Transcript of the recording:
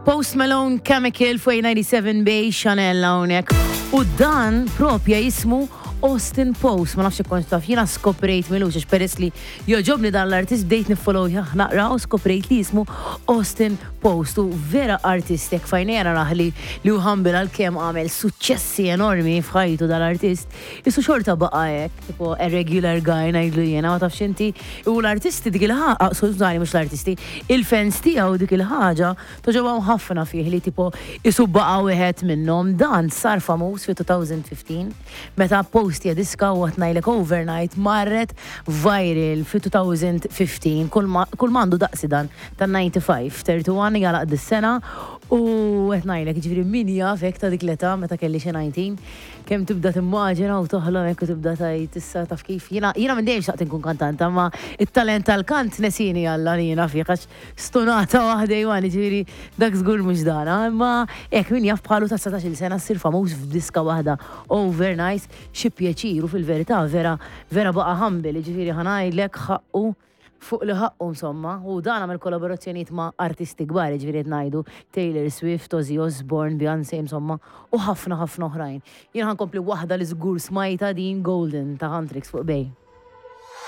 Post Malone Chemical fuq 97 Bay Chanel hawnhekk. U dan propja jismu Austin Post, ma nafx kont taf, jiena skoprejt milux għax peress li jogħġobni dan l-artist bdejt niffollow naqra u skoprejt li jismu Austin Post u vera artist jekk fajnejja narah li li hu humble għalkemm għamel suċċessi enormi f'ħajtu dal-artist, isu xorta baqa' hekk, tipo a regular guy ngħidlu jiena, ma tafx inti. U l-artisti dik il-ħaġa, skużani mhux l-artisti, il-fans tiegħu dik il-ħaġa togħġobhom ħafna fih li tipo isu baqa' wieħed minnhom. Dan sar famuż fi 2015 meta postja diska u qed ngħidlek overnight marret viral fi 2015 kull ma kull ma għandu daqsi dan ta' 95, 31 jagħlaq dis-sena u qed ngħidlek jiġifieri min jaf hekk ta' dik l-età meta kelli xi 19 kemm tibda timmaġina u toħlom hekk u tibda tgħid issa taf kif jiena jiena minn dejjem xtaqt inkun kantanta imma it-talent tal-kant nesini Alla li jiena fih għax stonata waħda Iwan jiġifieri dak żgur mhux dana imma hekk min jaf bħalu ta' 19-il sena ssir famuż f'diska waħda overnight xi pjaċir u fil-verità vera vera baqa' humble jiġifieri ħa ngħidlek ħaqqu fuq li ħaqqu insomma, u dan għamel kollaborazzjonijiet ma' artisti kbar, jiġifieri qed ngħidu Taylor Swift, Ozzy Osbourne, Beyoncé insomma, u ħafna ħafna oħrajn. Jien ħa nkompli waħda li żgur smajtha din Golden ta' Huntrix fuq Bay.